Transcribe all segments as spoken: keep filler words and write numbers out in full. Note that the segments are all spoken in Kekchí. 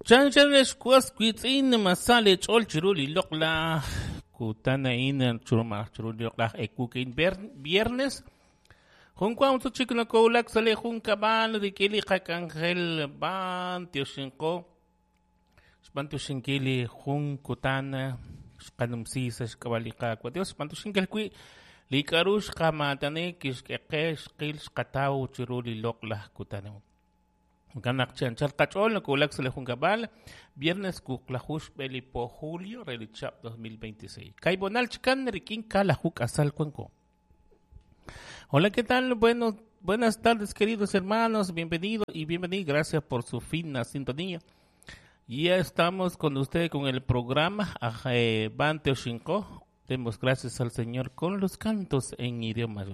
Chan chan lexwas witz'in masale ch'ol chiru li loq'laj kutan a'in chiru malaj chiru li loq'laj ekukin viernes. Junkuan chik nakowulak sa li junkab'al rik'in li qak'anjel b'an tioxinqo xb'an tioxinkil li jun kutan xqanumsi sa xk'ab'a' li Qaawa' Dios xb'an tioxinkil wi' li k'a'ru xqamaatani kixk'e xqil xqataw chiru li loq'laj kutan. Kanak chan chal qach'ol nakowulak sa li junkab'al viernes kuqlaju xb'e li po julio re li chab dos mil veintiséis. Kayb'onal chikan rik'in kalaju k'asal kuanko. Hola, ¿qué tal? Bueno, buenas tardes, queridos hermanos. Bienvenidos y bienvenidas. Gracias por su fina sintonía. Ya estamos con ustedes con el programa Bante Oshinko. Demos gracias al Señor con los cantos en idiomas.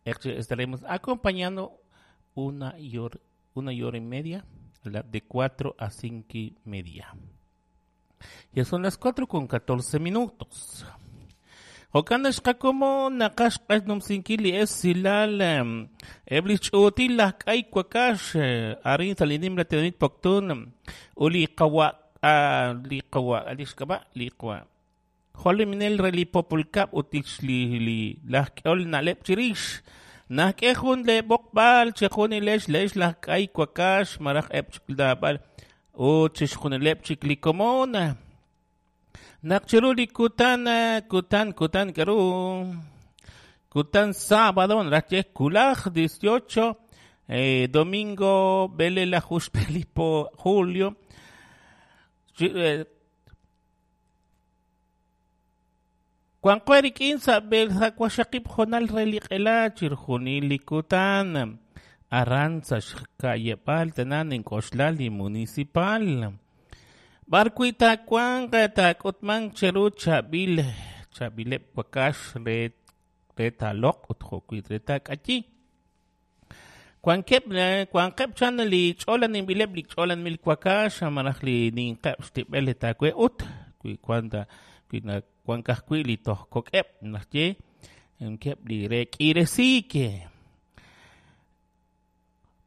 Estaremos acompañando una y hora, una y hora y media, de cuatro a cinco y media. Ya son las cuatro con catorce minutos. Jokan xqakomo naqax numsinkili es silal ebli ch'util laj k'ay kuakax arin salinim la tinamit Poptún uli qawa li qawa alixkaba li qawa joliminel reli populkab utix li li laj k'ol naleb chirix naj k'e jun le b'oqb'al chejunilex lex laj k'ay kuakax maraj eb chikldab'al ut chixjunileb chik li komon. Naq chiru li kutan, kutan, kutan, karu, kutan sábado, nracheh kulaj, dieciocho, eh, domingo, bele la juxpelipo, julio, eh, Cuancueri quince, bel jacuashakip jonal reliqela, chirjunili kutan, arranza, xkayepal, tenan, en koshlali municipal. Barcuita cuanga takotman cheru chabil chabilep wakash re retalok utjokuit retak achi. Cuanquep cuanquep chan li cholan imbilep li cholan mil wakash amarajli ninqep stibel takue ut kui cuanda kui cuancascui li tohkokep nache enkep li rekiresike.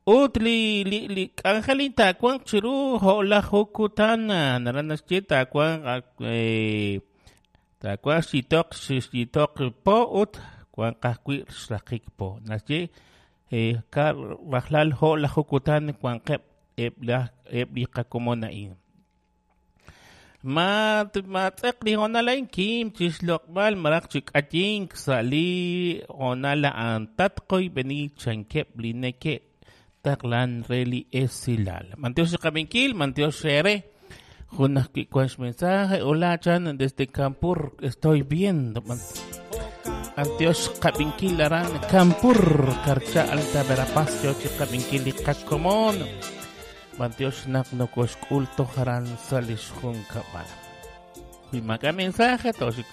Ut li li li k'anjelin takuan chiru ho'laj jukutan naranax che takuan eh takuan xitoq xitoq po ut kuan qajwi xraqik po naxche eh ka rajlal ho'laj jukutan kuan qeb eb la eb li qakomon a'in ma ma tz'eq li honalain kim chixloq'b'al maraj chik'ayink sa' li honala antatqoy beni chankeb li neke Taqlan reli esilal. Mantiox Kabinkil, Mantiox Shere. Junas que mensaje. Hola, Chan, desde Campur estoy viendo. Antiox Kabinkil aran Campur, Carcha Alta Verapaz, Yochi Kabinkil y Cacomón. Mantiox Nak no Koshkulto Haran Salish Junkabal. Y maca mensaje, Toshik.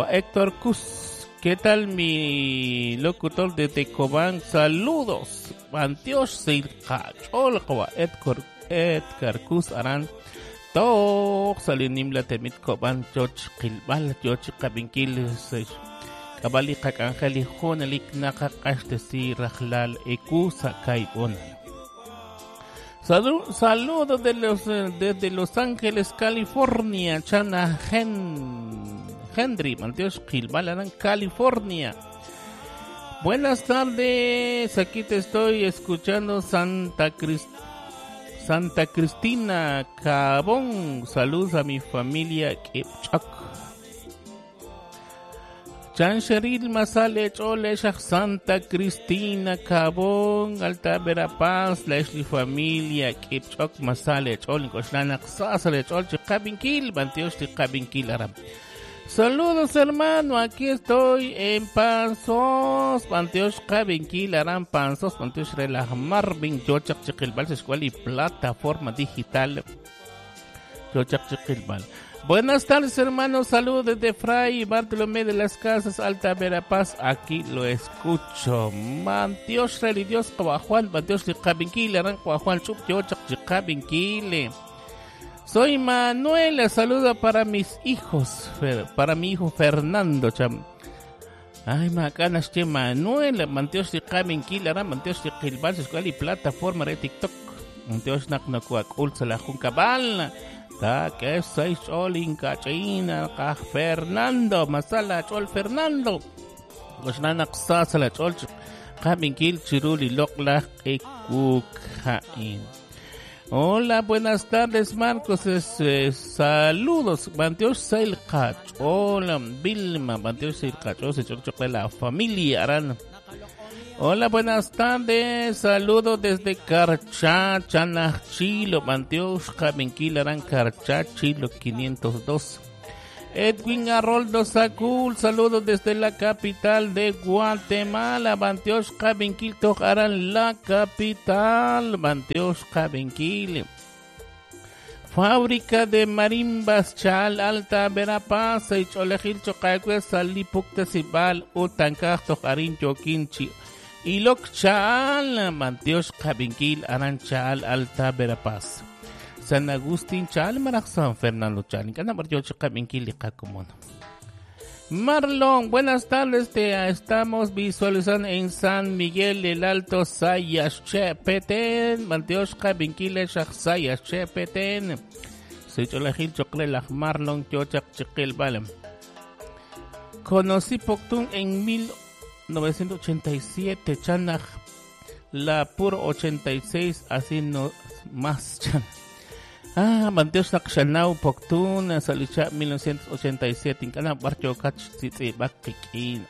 Héctor Cus. ¿Qué tal mi locutor de Tecobán? Saludos. Antiox Silcachol Edgar Edgar Cus Aran Tok Salinim la Temit Coban Choch Kilbal Choch Kabinkil Kabali Kak Angeli Jonelik Nakakashtesi Rajlal Ekusa Kaibon. Saludos de los, desde Los Ángeles, California, Chana Gen Henry, Mantiox Kilbal Aran, California. Buenas tardes, aquí te estoy escuchando Santa, Crist Santa Cristina Cabón. Saludos a mi familia Kipchak. Chan Sheril Masale Chole Santa Cristina Cabón, Alta Verapaz, la Esli familia Kipchak Masale Chole, Koshlana Sasale Chole, Chicabinkil, Mantiox Chicabinkil Aram. Saludos hermano, aquí estoy en Panzos, Panteox Kabinkil, Aram Panzos, Panteox Relaj Marvin, Yochak Chiquilbal, Escuela y plataforma digital, Yochak Chiquilbal. Buenas tardes hermanos, saludos desde Fray Bartolomé de las Casas, Alta Verapaz, aquí lo escucho. Manteox Relidios Juan, Manteox Kabinkil, Aram Juan Chup, Yochak Chicabinkil. Soy Manuela, saluda para mis hijos, para mi hijo Fernando Cham. Ay, macanas che Manuela, Manteox de Kabinkil, Aram, Manteox de Kilbal, Escuela y plataforma de TikTok. Bantiox naq nokoak'ul sa la junkab'al. Taak'e sa xch'ool inkach'in qaj Fernando. Masala ch'ool Fernando. Oxna naq sa sa la ch'ool qab'inkil chiru li loq'laj q'ekuk ha'in. Hola, buenas tardes, Marcos. Es, eh, saludos. Bantiox Sail Qach'ool, Vilma. Bantiox Sail Qach'ool, se ch'ool la familia Aran. Hola, buenas tardes. Saludos desde Carchá, Chanachilo. Bantiox Qabinkil Aran Carchá, Chilo quinientos dos. Edwin Aroldo Sacul, saludos desde la capital de Guatemala. Bantiox Qabinkil Tojaran, la capital. Bantiox Qabinkil. Fábrica de marimbas Chal Alta Verapaz, Cholejil Chocagüe, Salipuktasibal, Utancaj, Tojarín, Yoquinchi, Ilok Chal, Bantiox Qabinkil, Aran Chal Alta Verapaz. San Agustín Chal, Maraj San Fernando Chal. Marlon, buenas tardes. Te estamos visualizando en San Miguel del Alto, Sayas Petén. Bantiox Qabinkil, Sayas Petén. Sicholajil Choclelaj Marlon, Kiochak Chiquil Balem. Conocí Poptún en mil novecientos ochenta y siete, Chanaj, la Pur ochenta y seis, así no más, Chan. Ah, Bantiox Naqxanaw Poptún, Salicha mil novecientos ochenta y siete, Incana Barcho Kach Tzitzi Bakikin.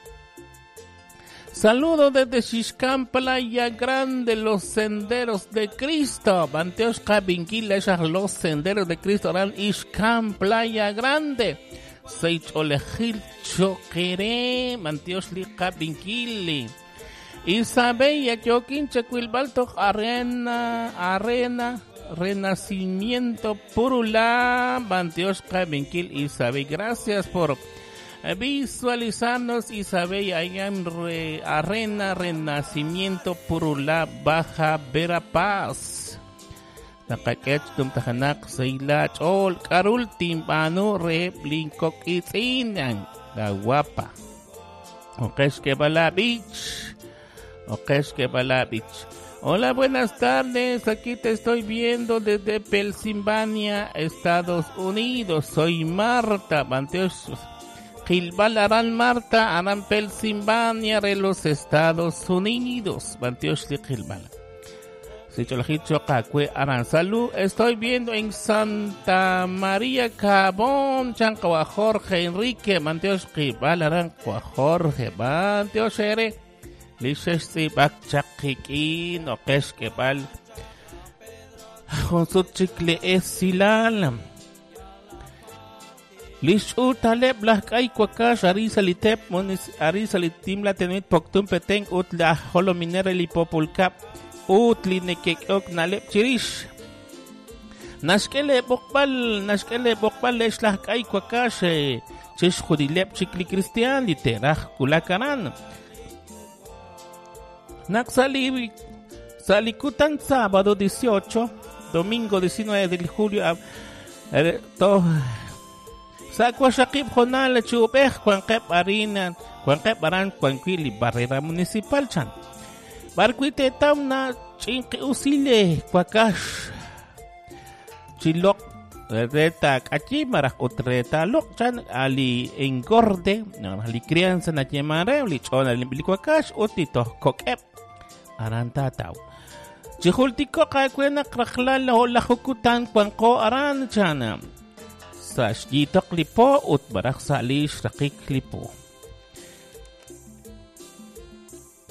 Saludos desde Xixcán, Playa Grande, los senderos de Cristo. Bantiox Qabinkil, los senderos de Cristo, Aran Ixcán, Playa Grande. Seicholejil Choquere, Bantiox Li Qabinkil. Isabella, Yoquin, Chequilbalto, Arena, Arena. Renacimiento Purula, Bantiox Qabinkil, Isabel. Gracias por visualizarnos, Isabel, allá en Re, Arena Renacimiento Purula, Baja Verapaz. Nakakech tumtajanak seila chol karul timpano re blinkok itzinan la guapa. Okesh que bala beach. Okesh que bala beach. Hola, buenas tardes. Aquí te estoy viendo desde Pensilvania, Estados Unidos. Soy Marta Bantiox Gilbal Aran Marta Aran Pensilvania de los Estados Unidos. Bantiox Gilbal. Aran Salud. Estoy viendo en Santa María Cabón, Chancawa Jorge Enrique, Bantiox Gilbal Aran Jorge, Bantiox Ere. Lixexti bakchakikin o kexkebal jonsut chikle esilal Lixutaleb lajk'ay kuakax arisalitep monis arisalitim la tenit Poptún Petén ut la jolominera lipopulkap ut linekek'ok naleb chirix Naxk'ele b'oqb'al naxk'ele b'oqb'al lex lajk'ay kuakax chix judileb chikli cristian literaj kulakaran Naxali Salikutan sábado dieciocho, domingo diecinueve de julio, to Sakuashakib Jonal Chubej, Juanqep Arina, Juanqep Aran, Juanquili, Barrera Municipal Chan. Barcuite Tauna, Chinque Usile, Cuacash, Chilok, Reta Kachimaraj, Utreta Lok Chan, Ali Engorde, Ali Crianza, Nachemare, Lichona, Limbilicuacash, Utito, Kokep, Arantatau. Chijultico, Kakuena, Krajlal, Hola Jukutan, Juanco, Aran Chana. Sash yitok lipo ut barak salish rakik lipo.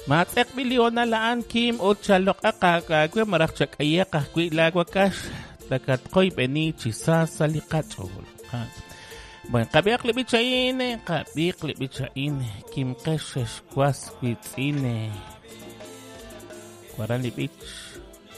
Matek biliona laan kim ut chalok akakagwe marak chakaya kahkwi lagwakash takatkoy beni chisa salikachol. Bueno, kabiak libichaine, kabiak libichaine, kim keshes kwas kwitzine. Kwaran libich.